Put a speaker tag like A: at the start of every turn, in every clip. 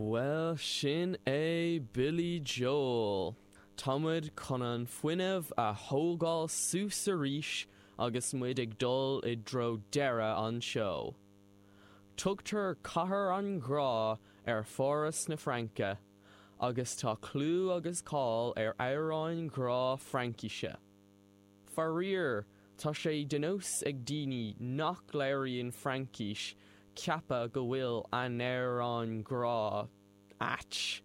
A: Bhuel, sin é Billy Joel. Tá muid chun an fuinneamh a thógáil suas arís agus muid ag dul i dtreo deireadh an tseó. Tugtar Cathair an Ghrá ar Pháras na Fraince agus tá clú agus cáil ar amhráin ghrá Fraincise. Faraor, tá sé de nós ag daoine nach labhraíonn Fraincis ceapadh go bhfuil a n-amhráin ghrá ait.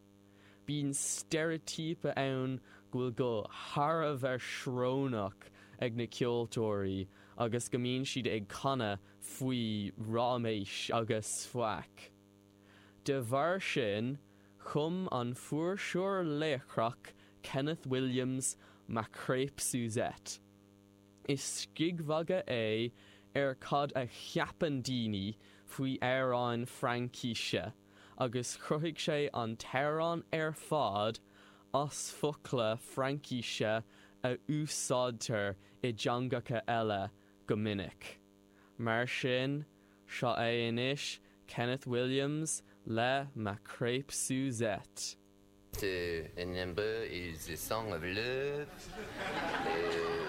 A: Bíonn steiréitíopa ann go bhfuil guth thar a bheith srónach ag na ceoltóirí agus go mbíonn siad ag canadh faoi ráiméis agus faic. De bharr sin, chum an fuirseoir laochrach Kenneth Williams Ma Crêpe Suzette. Is scigmhagadh é ar cad a cheapann daoine faoi amhráin Fraincise agus chruthaigh sé an t-amhrán ar fad as focla Fraincise a úsáidtear i dteangacha eile go minic. Mar sin, seo é anois Kenneth Williams le Ma Crêpe Suzette.
B: The number is a song of love uh,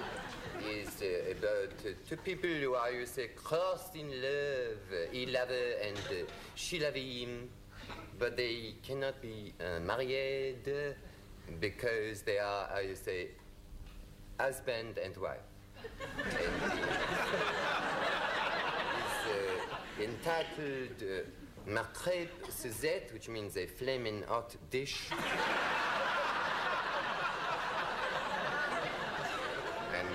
B: is uh, about uh, two people who are you say crossed in love he love her and uh, she love him but they cannot be uh, married because they are how you say husband and wife and is uh, entitled uh, Ma crêpe Suzette, which means a flaming hot dish. and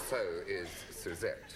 B: so is Suzette.